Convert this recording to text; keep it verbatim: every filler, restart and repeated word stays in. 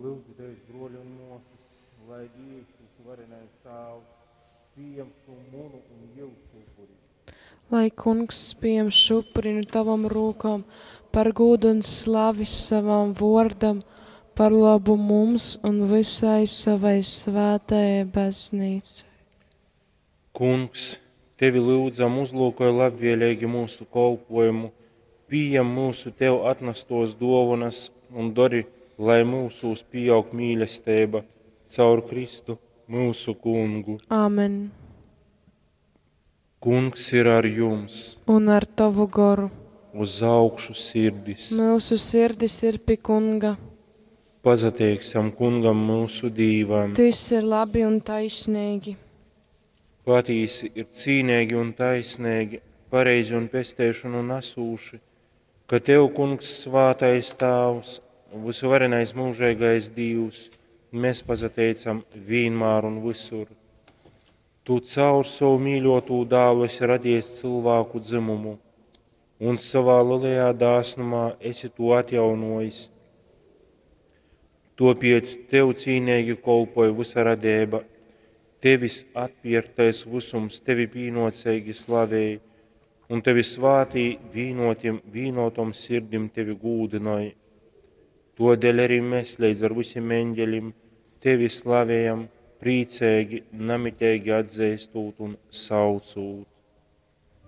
Lyudzu tevis, bruoli un muosys, lai Dīvs, vysuvarenais Tāvs, pījam šū munu un jyusu upuri. Lai Kungs pījam šo upuri nu tavom rūkom par gūdu un slavi savam vuordam, par lobu mums un vysai savai svētajai baznīcai. Kungs, tevi lyudzam, uzlūkoj labvēlīgi myusu kolpojumu, pījem myusu tev atnastōs dōvonas un dori, lai myusūs pīaug mīlesteiba caur Kristu, myusu Kungu. Āmen. Kungs ir ar jums. Un ar tavu goru. Uz augšu sirdis. Myusu sirdis ir pi Kunga. Pasateiksim Kungam myusu Dīvam. Tys ir labi un taisnīgi. Patīsi ir cīneigi un taisneigi, pareizi un pesteišonu nasūši, ka Tev, Kungs, svātais Tāvs, vysuvarenais mūžeigais Dīvs, mēs pasateicam vīnmār un visur. Tu caur savu mīļotū dālu esi radies cilvēku dzimumu, un savā lielajā dāsnumā esi to atjaunojis. Topiec Tev cīneigi kolpoja visa radība, Tevis atpirktais visums Tevi pīnocīgi slavēj, un Tevi svātī vīnotim, vīnotom sirdim Tevi gūdinoj. Todēļ arī mēs līdz ar visiem eņģeļiem Tevi slavējam, priecīgi, namitīgi atzīstot un saucot.